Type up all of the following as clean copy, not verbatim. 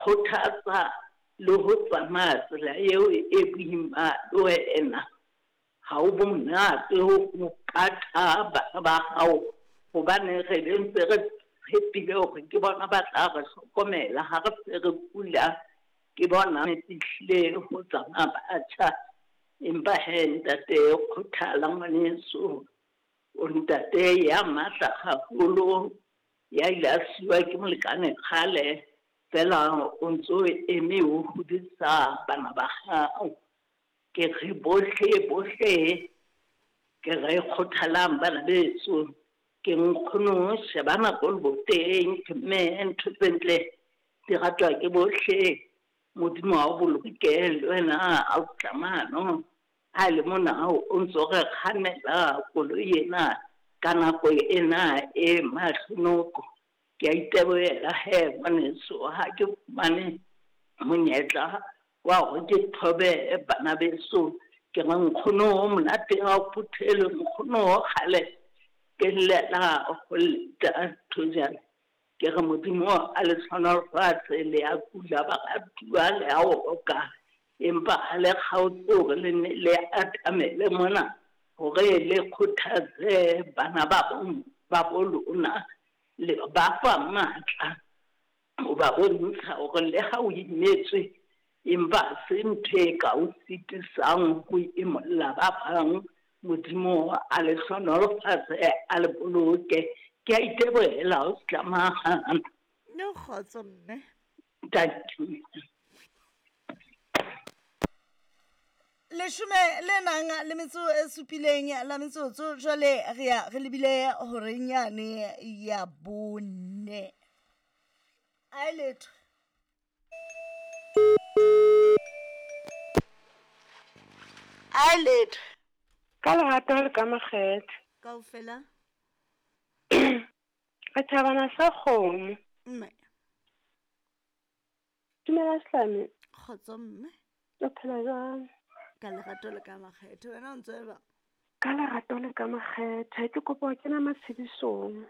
Kgothatsa le ho tsamaya tsela eo e boima le wena. Ha ho monate ho pata bana ba hao hobane re be ntse re tshepile hore ke bona ba tla re hlokomela ha re se re kula. Ke bona ehlile ho tsamaya batjha. Empa hee ntate kgothala ngwaneso. O ntate ya matla haholo, ya ile a siwa ke molekane kgale. Fela o ntso eme o hodisa bana ba hao. Ke re bohle bohle ke re kgothalang bana beso. Ke nkgono sheba nako leboteng ke mme ntho tse ntle di ratwa ke bohle. Modimo a o boloke le wena a o tlamano. Ha e le mona o ntso re kgannela koloi ena ka nako ena e mahlonoko. Ke a itebohela he ngwaneso ha ke fumane monyetla wa hore ke thobe bana beso. Ke re nkgono monate ha o phuthelwe, nkgono kgale ke llela ho leta thojana. Ke re Modimo a le hlohonolofatse, le a kula baratuwa, le a oka. Empa ha le kgaotse hore le nne le atamele mona hore le kgothatse bana ba ba bo lona. Le ba fa matla ho ba bontsha hore le ha o imetswe empa ha se ntho e ka o sitisang ho imolla ba bang. Modimo a le hlohonolofatse, a le boloke. Ke a itebohela ho tlamahana. No kgotso mme. Thank you. Leshome le nang le metso e supileng la metsotso jwale re ya re lebile horeng yane ya bone. A e letho. A e letho. Ka lerato le ka makgethe. Kaofela. Re thabana sa kgomo. Mme. Dumela Sehlame. Kgotso mme. O phela jwang? Ka lerato le ka makgethe. Wena o ntse o jwang? Ka lerato le ka makgethe. Ke kopa ho kena matshedisong.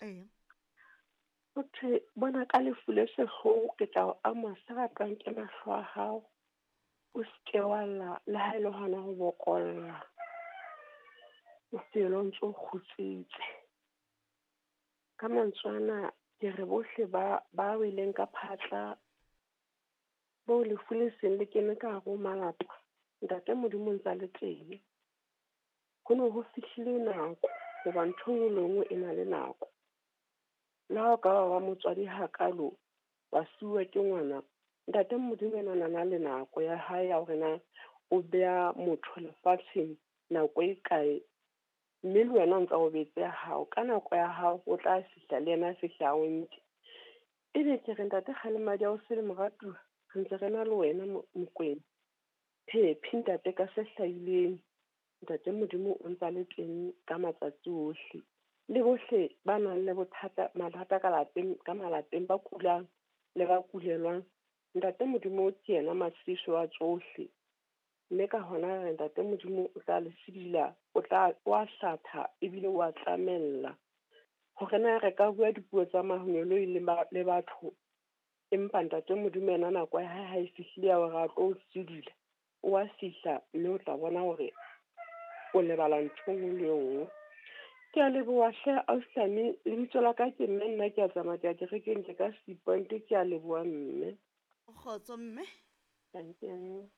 Ee. Ho thwe bona ka lefu le sehloho ke tla o ama se ratwang ke mahlo a hao. O se ke wa lla le ha e le hona ho bokolla. O fele o ntso kgutsitse. Ka mantswe ana ke re bohle ba ba weleng ka phatla boo lefu le seng le kene ka hare ho malapa, Ntate Modimo o ntse a le teng. Ho ne ho fihlile nako hoba ntho e nngwe le nngwe e na le nako. Le ha o ka ba wa motswadi hakalo wa siuwa ke ngwana, Ntate Modimo ena o na le nako ya hae ya hore na o beha motho lefatsheng nako e kae. Mme le wena o ntsa o betse ya hao, ka nako ya hao o tla fihla le yena a fihle a o nke. Ebe ke re ntate Kgalemadi a o sele moratuwa, re ntse re na le wena Mokwena. Phephi ntate ka se hlahileng, ntate Modimo o ntsa le teng ka matsatsi ohle. Le bohle ba nang le bothata, mathata ka lapeng, ka malapeng, ba kulang le ba kulelwang, ntate Modimo ke yena matshediso a tsohle. Mme ka hona re re Ntate Modimo o tla le sidila, o tla, o a hlatha ebile o a tlamella. Hore na re ka bua dipuo tsa mangeloi le, ba, le batho, empa Ntate Modimo yena nako ya hae ha e fihlile ya hore a tlo o sidila, o a fihla mme o tla bona hore o lebala ntho e nngwe le e nngwe. Ke a leboha hle ausi Hlami, lebitso la ka ke mme nna ke a tsamaya ke ya kerekeng ke ka Sea Point, ke a leboha mme. Kgotso mme. Thank you.